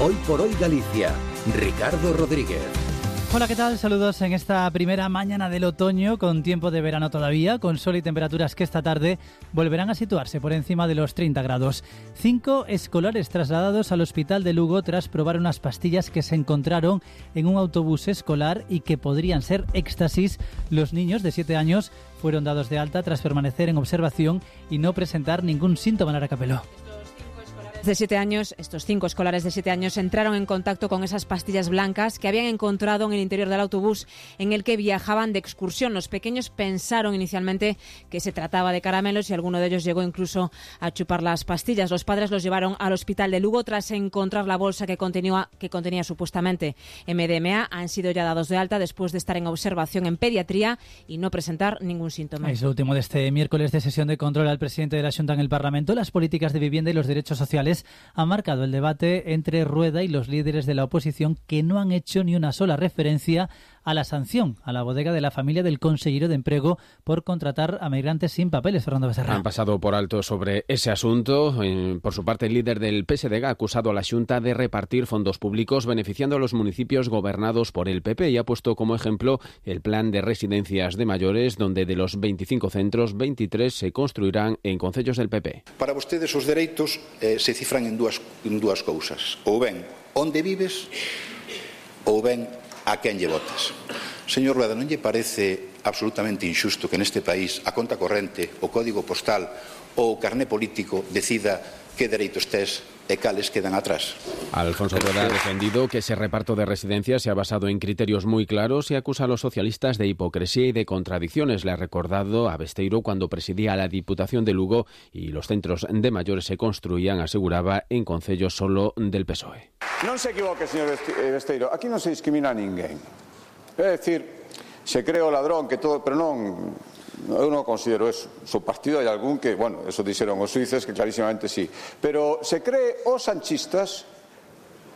Hoy por hoy Galicia. Ricardo Rodríguez. Hola, ¿qué tal? Saludos en esta primera mañana del otoño, con tiempo de verano todavía, con sol y temperaturas que esta tarde volverán a situarse por encima de los 30 grados. 5 escolares trasladados al hospital de Lugo tras probar unas pastillas que se encontraron en un autobús escolar y que podrían ser éxtasis. Los niños de 7 años fueron dados de alta tras permanecer en observación y no presentar ningún síntoma. Lara Capeló. Estos 5 escolares de 7 años entraron en contacto con esas pastillas blancas que habían encontrado en el interior del autobús en el que viajaban de excursión. Los pequeños pensaron inicialmente que se trataba de caramelos y alguno de ellos llegó incluso a chupar las pastillas. Los padres los llevaron al hospital de Lugo tras encontrar la bolsa que contenía supuestamente MDMA. Han sido ya dados de alta después de estar en observación en pediatría y no presentar ningún síntoma. Es lo último de este miércoles de sesión de control al presidente de la Xunta en el Parlamento. Las políticas de vivienda y los derechos sociales ha marcado el debate entre Rueda y los líderes de la oposición, que no han hecho ni una sola referencia a la sanción a la bodega de la familia del consellero de Emprego por contratar a migrantes sin papeles. Fernando Becerra. Han pasado por alto sobre ese asunto. Por su parte, el líder del PSDG ha acusado a la Xunta de repartir fondos públicos beneficiando a los municipios gobernados por el PP y ha puesto como ejemplo el plan de residencias de mayores, donde de los 25 centros, 23 se construirán en concellos del PP. Para vostedes os dereitos se cifran en dúas cousas. Ou ben onde vives ou ben a quen lle votas. Señor Rueda, non lle parece absolutamente injusto que neste país a conta corrente, o código postal ou o carné político decida que dereitos tes e cales quedan atrás? Alfonso Rueda ha defendido que ese reparto de residencias se ha basado en criterios muy claros y acusa a los socialistas de hipocresía y de contradicciones. Le ha recordado a Besteiro cuando presidía la Diputación de Lugo y los centros de mayores se construían, aseguraba, en concellos solo del PSOE. Non se equivoque, señor Besteiro, aquí non se discrimina a ninguén. É dicir, se cree o ladrón que todo, pero non, eu non considero eso. O partido hai algún que, bueno, eso dixeron os suíces que clarísimamente sí. Pero se cree os sanchistas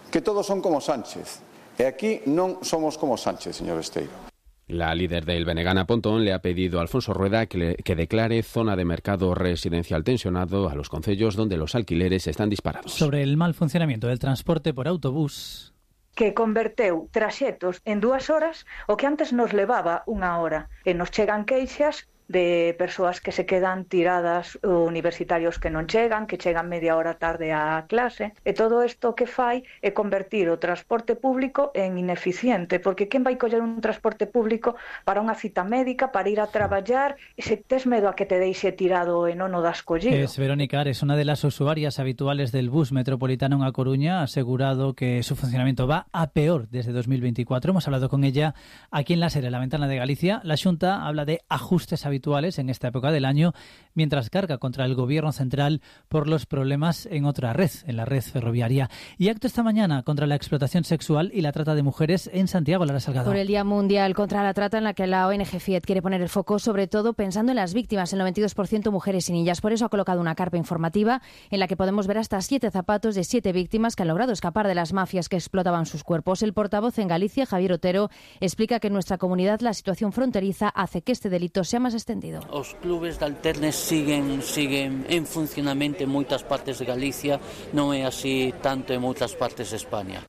que todos son como Sánchez. E aquí non somos como Sánchez, señor Besteiro. La líder del Benegana Pontón le ha pedido a Alfonso Rueda que declare zona de mercado residencial tensionado a los concellos donde los alquileres están disparados. Sobre el mal funcionamiento del transporte por autobús, que converteu traxetos en 2 horas o que antes nos levaba 1 hora. E nos chegan queixas de persoas que se quedan tiradas, universitarios que non chegan, que chegan media hora tarde á clase, e todo isto que fai é convertir o transporte público en ineficiente, porque quen vai coller un transporte público para unha cita médica, para ir a traballar, e se tes medo a que te deixe tirado e non o das collido. Es Verónica Ares, una de las usuarias habituales del bus metropolitano en A Coruña, ha asegurado que su funcionamiento va a peor desde 2024. Hemos hablado con ella aquí en La Serie, la ventana de Galicia. La Xunta habla de ajustes habituales en esta época del año, mientras carga contra el gobierno central por los problemas en otra red, en la red ferroviaria. Y acto esta mañana contra la explotación sexual y la trata de mujeres en Santiago. Lara Salgado. Por el Día Mundial contra la Trata, en la que la ONG FIET quiere poner el foco sobre todo pensando en las víctimas, el 92% mujeres y niñas. Por eso ha colocado una carpa informativa en la que podemos ver hasta 7 zapatos de 7 víctimas que han logrado escapar de las mafias que explotaban sus cuerpos. El portavoz en Galicia, Javier Otero, explica que en nuestra comunidad la situación fronteriza hace que este delito sea más extendido. Os clubes de alternes siguen en funcionamento en moitas partes de Galicia, non é así tanto en moitas partes de España.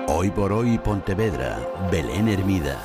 Hoy por hoy Pontevedra, Belén Hermida.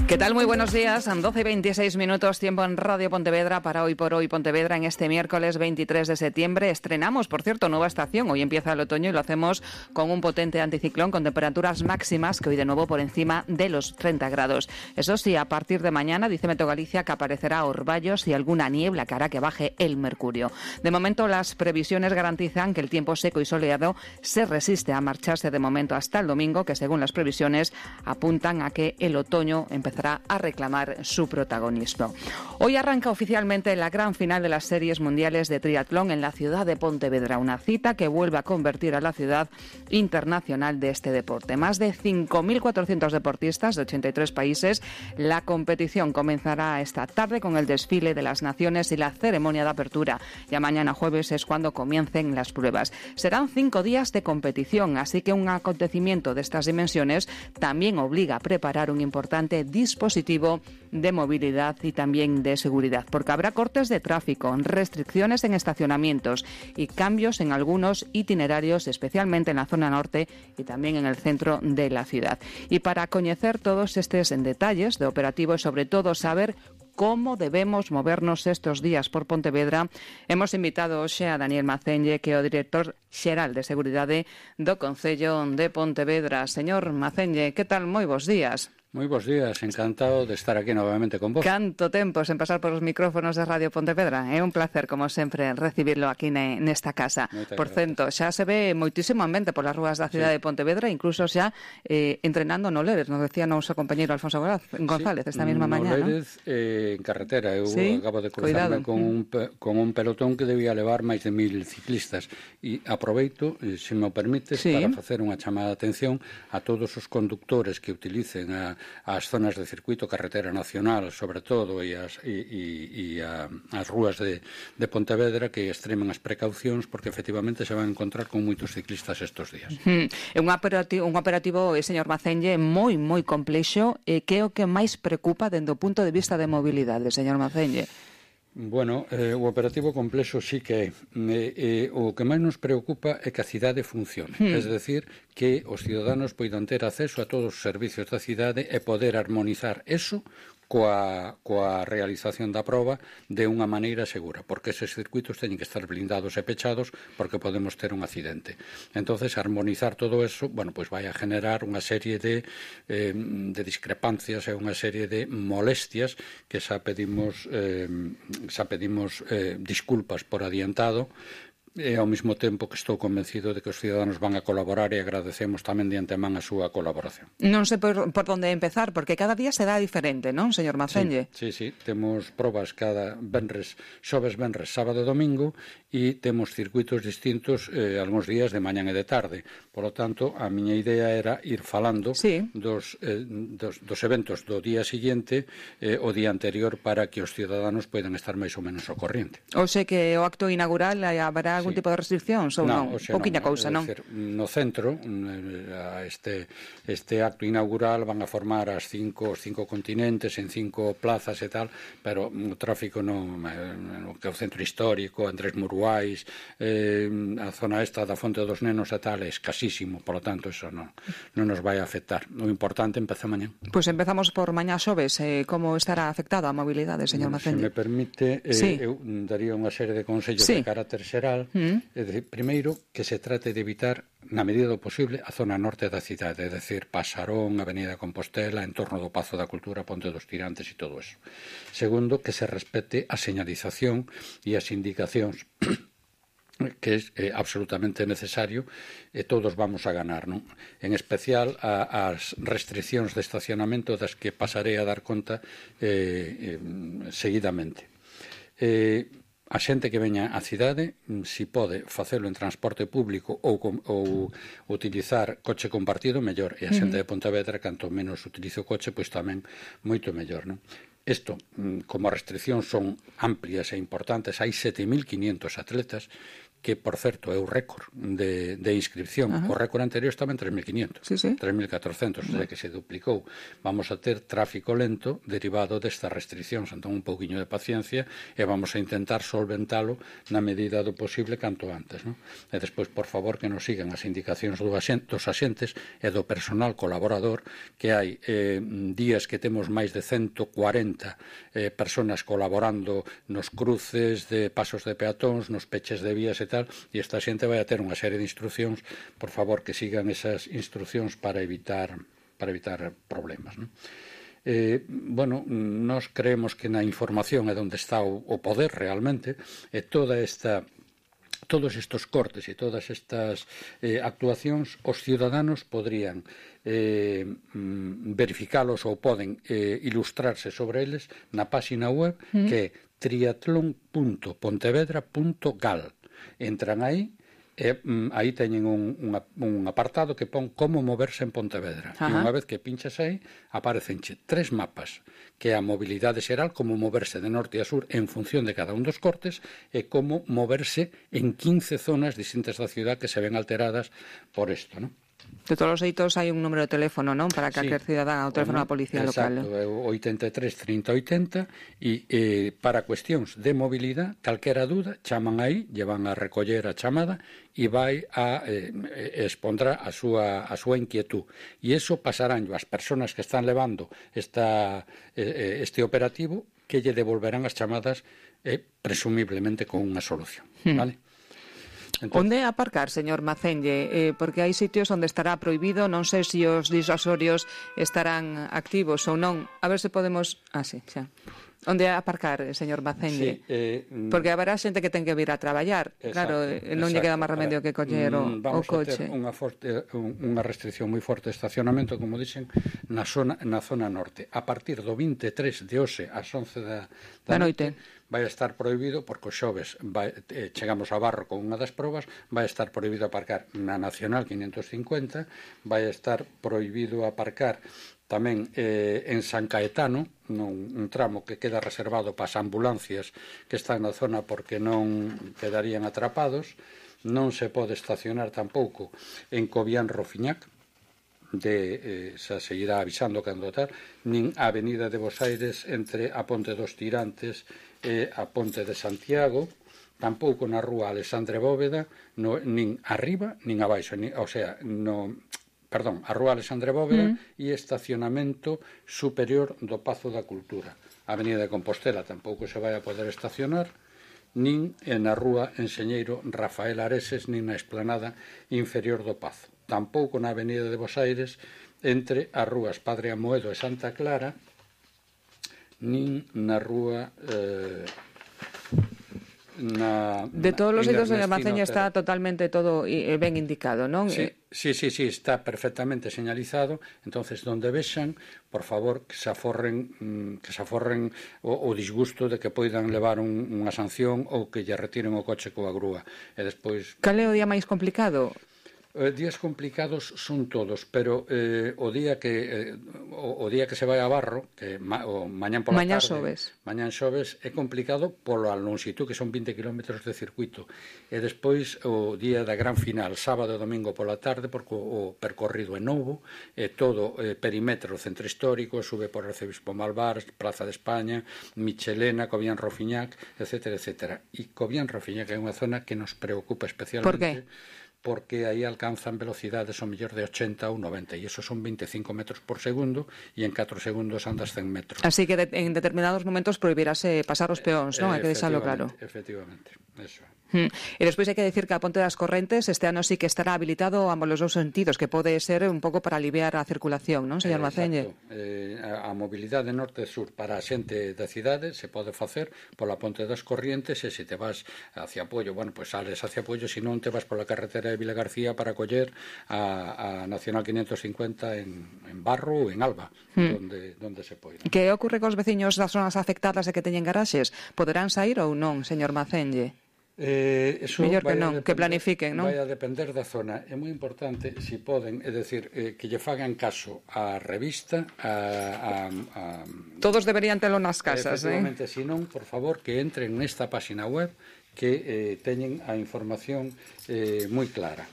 ¿Qué tal? Muy buenos días. 12:26 minutos, tiempo en Radio Pontevedra para Hoy por Hoy Pontevedra en este miércoles 23 de septiembre. Estrenamos, por cierto, nueva estación. Hoy empieza el otoño y lo hacemos con un potente anticiclón con temperaturas máximas que hoy de nuevo por encima de los 30 grados. Eso sí, a partir de mañana, dice Meteo Galicia, que aparecerá orvallos y alguna niebla que hará que baje el mercurio. De momento, las previsiones garantizan que el tiempo seco y soleado se resiste a marcharse de momento hasta el domingo, que según las previsiones apuntan a que el otoño empezará a reclamar su protagonismo. Hoy arranca oficialmente la gran final de las series mundiales de triatlón en la ciudad de Pontevedra, una cita que vuelve a convertir a la ciudad internacional de este deporte. Más de 5.400 deportistas de 83 países. La competición comenzará esta tarde con el desfile de las naciones y la ceremonia de apertura. Ya mañana jueves es cuando comiencen las pruebas. Serán 5 días de competición, así que un acontecimiento de estas dimensiones también obliga a preparar un importante dispositivo dispositivo de movilidad y también de seguridad, porque habrá cortes de tráfico, restricciones en estacionamientos y cambios en algunos itinerarios, especialmente en la zona norte y también en el centro de la ciudad. Y para conocer todos estos detalles de operativo y sobre todo saber como debemos movernos estos días por Pontevedra, hemos invitado hoxe a Daniel Macenlle, que é o director xeral de Seguridade do Concello de Pontevedra. Señor Macenlle, que tal? Moi bons días. Moi bons días, encantado de estar aquí novamente con vos. Canto tempo sen pasar por os micrófonos de Radio Pontevedra. É un placer, como sempre, recibirlo aquí nesta casa. Por cento, xa se ve moitísimo ambiente polas rúas da cidade de Pontevedra, incluso xa entrenando no Lérez, nos decía noso compañeiro Alfonso González esta mesma mañá, no Lérez, en carretera. Eu acabo de cruzarme con un pelotón que debía levar máis de 1000 ciclistas e aproveito, se me o permites, para facer unha chamada de atención a todos os conductores que utilicen as zonas de circuito carretera nacional, sobre todo, e as rúas de Pontevedra, que extremen as precaucións, porque efectivamente se van a encontrar con moitos ciclistas estes días. É un operativo, señor Macenlle, moi complexo, que é o que máis preocupa dende o punto de vista de mobilidade, señor Macenlle? Bueno, o operativo complexo sí que é. O que máis nos preocupa é que a cidade funcione. É dicir, que os ciudadanos poidan ter acceso a todos os servicios da cidade e poder armonizar eso coa realización da proba de unha maneira segura, porque eses circuitos teñen que estar blindados e pechados porque podemos ter un accidente. Entonces, armonizar todo eso, bueno, pues vai a generar unha serie de discrepancias e unha serie de molestias que xa pedimos disculpas por adiantado, e ao mesmo tempo que estou convencido de que os ciudadanos van a colaborar e agradecemos tamén de antemán a súa colaboración. Non sei por onde empezar, porque cada día será diferente, non, señor Macenlle? Sí, temos probas cada venres, xoves, venres, sábado e domingo, e temos circuitos distintos algúns días de mañan e de tarde. Por lo tanto, a miña idea era ir falando dos eventos do día seguinte o día anterior para que os ciudadanos poidan estar máis ou menos ao corriente. O sei que o acto inaugural haberá algún tipo de restriccións ou non? Pouquiña cousa, non? No centro, este acto inaugural van a formar os cinco continentes en 5 plazas e tal, pero o tráfico non, que o centro histórico, Andrés Muruais, a zona esta da Fonte dos Nenos e tal, é escasísimo, por lo tanto, eso non nos vai a afectar. O importante empeza mañá. Pois empezamos por mañá xoves. Como estará afectada a mobilidade, señor Macenlle? Se me permite, eu daría unha serie de consellos de carácter xeral. É dicir, primeiro, que se trate de evitar, na medida do posible, a zona norte da cidade, é dicir, Pasarón, Avenida Compostela, en torno do Pazo da Cultura, Ponte dos Tirantes e todo eso. Segundo, que se respete a señalización e as indicacións que é absolutamente necesario e todos vamos a ganar, non? En especial as restriccións de estacionamento das que pasarei a dar conta seguidamente. A xente que veña á cidade, si pode facelo en transporte público ou utilizar coche compartido, mellor. E a xente de Pontevedra, canto menos utilice o coche, pois tamén moito mellor, non? Isto, como as restriccións son amplias e importantes, hai 7.500 atletas, que, por certo, é o récord de inscripción. O récord anterior estaba en 3.500, 3.400, o sea que se duplicou. Vamos a ter tráfico lento derivado destas restriccións, entón un pouquiño de paciencia e vamos a intentar solventalo na medida do posible canto antes, non? E despois, por favor, que nos sigan as indicacións dos axentes e do personal colaborador, que hai días que temos máis de 140 personas colaborando nos cruces de pasos de peatóns, nos peches de vías e tal, e esta xente vai a ter unha serie de instruccións, por favor, que sigan esas instruccións para evitar problemas, non? Bueno, nós creemos que na información é onde está o poder realmente, e todos estes cortes e todas estas actuacións, os ciudadanos podrían verificalos ou poden ilustrarse sobre eles na páxina web que é triatlon.pontevedra.gal. Entran aí e aí teñen un apartado que pon como moverse en Pontevedra. E unha vez que pinchas aí, aparecenche 3 mapas, que é a mobilidade xeral, como moverse de norte a sur en función de cada un dos cortes, e como moverse en 15 zonas distintas da ciudad que se ven alteradas por isto, non? De todos os xeitos hai un número de teléfono, non? Para que aquel cidadán ao teléfono da policía local. Exacto, 83 30 80 e para cuestións de mobilidade, calquera dúda, chaman aí, llevan a recoller a chamada e vai a expondrá a súa inquietud. E iso pasarán as persoas que están levando este operativo, que lle devolverán as chamadas presumiblemente con unha solución, vale? Onde aparcar, señor Macenlle? Porque hai sitios onde estará prohibido, non sei se os disuasorios estarán activos ou non. A ver se podemos... sí, xa. Onde aparcar, señor Macenlle? Porque haberá xente que ten que vir a traballar. Claro, non lle queda máis remedio que coller o coche. Vamos a ter unha restricción moi forte de estacionamento, como dixen, na zona norte. A partir do 23 de hoxe ás 11 da noite vai estar prohibido, porque os xoves chegamos a Barro con unha das probas, vai estar prohibido aparcar na Nacional 550, vai estar prohibido aparcar tamén en San Caetano, un tramo que queda reservado para as ambulancias que están na zona porque non quedarían atrapados. Non se pode estacionar tampouco en Cobián Rofiñac, se seguirá avisando cando tal, nin a Avenida de Bos Aires entre a Ponte dos Tirantes e a Ponte de Santiago, tampouco na rúa Alexandre Bóveda, nin arriba nin abaixo, a rúa Alexandre Bóveda e estacionamento superior do Pazo da Cultura. A Avenida de Compostela tampouco se vai a poder estacionar, nin na rúa Enxeñeiro Rafael Areses, nin na esplanada inferior do Pazo. Tampouco na Avenida de Bos Aires entre as rúas Padre Amoedo e Santa Clara, nin na rúa de todos os sitios de Maceño está totalmente todo ben indicado, non? Sí, está perfectamente señalizado. Entonces, donde vexan, por favor, que se aforren o disgusto de que poidan levar unha sanción ou que lle retiren o coche coa grúa. E despois... Cal é o día máis complicado? Días complicados son todos, pero o día que se vai a Barro, que mañán pola tarde, mañán xoves, é complicado pola lonxitud, que son 20 km de circuito, e despois o día da gran final, sábado e domingo pola tarde, porque o percorrido é novo, e todo perímetro centro histórico, sube por Arcebispo Malvar, Plaza de España, Michelena, Cobián Rofiñac, etcétera, etcétera. E Cobián Rofiñac é unha zona que nos preocupa especialmente. Por que? Porque aí alcanzan velocidades ao mellor de 80 ou 90, e iso son 25 metros por segundo, e en 4 segundos andas 100 metros. Así que en determinados momentos prohibirase pasar os peóns, non? Hai que deixalo claro. Efectivamente, eso. E despois hai que decir que a Ponte das Correntes este ano sí que estará habilitado a ambos os dous sentidos, que pode ser un pouco para aliviar a circulación, non, señor Maceñe? A mobilidade norte e sur para a xente da cidade se pode facer pola Ponte das Corrientes, e se te vas hacia Puello, pois sales hacia Puello, se non te vas pola carretera de Vilagarcía para coller a Nacional 550 en Barro ou en Alba, donde se pode. Que ocorre cos veciños das zonas afectadas e que teñen garaxes? Poderán sair ou non, señor Maceñe? Mellor que non, que planifiquen, non? Vai a depender da zona. É moi importante, se poden, é dicir, que lle fagan caso á revista, todos deberían telo nas casas, efectivamente, se non, por favor, que entren nesta página web, que teñen a información moi clara.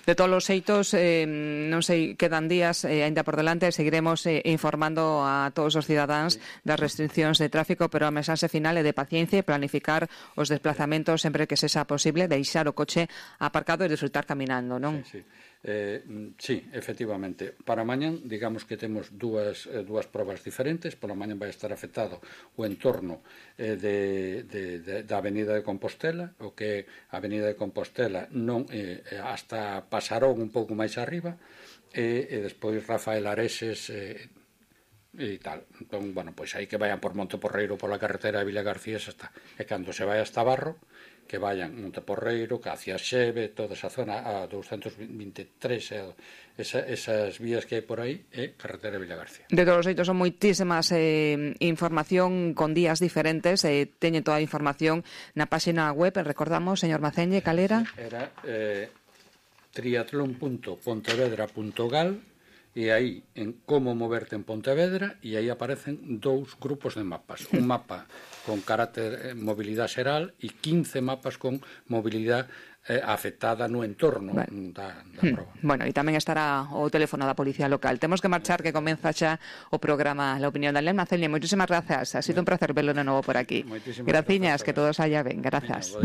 De todos os xeitos, non sei, quedan días aínda por delante, seguiremos informando a todos os cidadáns das restriccións de tráfico, pero a mensaxe final é de paciencia e planificar os desplazamentos sempre que sexa posible, deixar o coche aparcado e disfrutar caminando, non? Sí, efectivamente. Para mañán, digamos que temos dúas probas diferentes. Pola mañán vai estar afectado o entorno da Avenida de Compostela, o que a Avenida de Compostela non hasta Pasarón un pouco máis arriba, e despois Rafael Areses e tal. Entón, pois aí que vayan por Monteporreiro pola carretera de Vilagarcía, xa está. E cando se vai hasta Barro, que vayan Monteporreiro, que hacia Xeve, toda esa zona, a 223, esas vías que hai por aí, é carretera de Vilagarcía. De todos os xeitos, son moitísimas información con días diferentes, teñen toda a información na página web, recordamos, señor Maceñe, calera? Era triatlon.pontevedra.gal, e aí en como moverte en Pontevedra, e aí aparecen 2 grupos de mapas. Un mapa con carácter mobilidade xeral e 15 mapas con mobilidade afectada no entorno da proba. Bueno, e tamén estará o teléfono da Policía Local. Temos que marchar, que comeza xa o programa La Opinión de Alem. Celia, moitísimas grazas. Ha sido un placer verlo de novo por aquí. Graciñas, que todo saia ben. Grazas.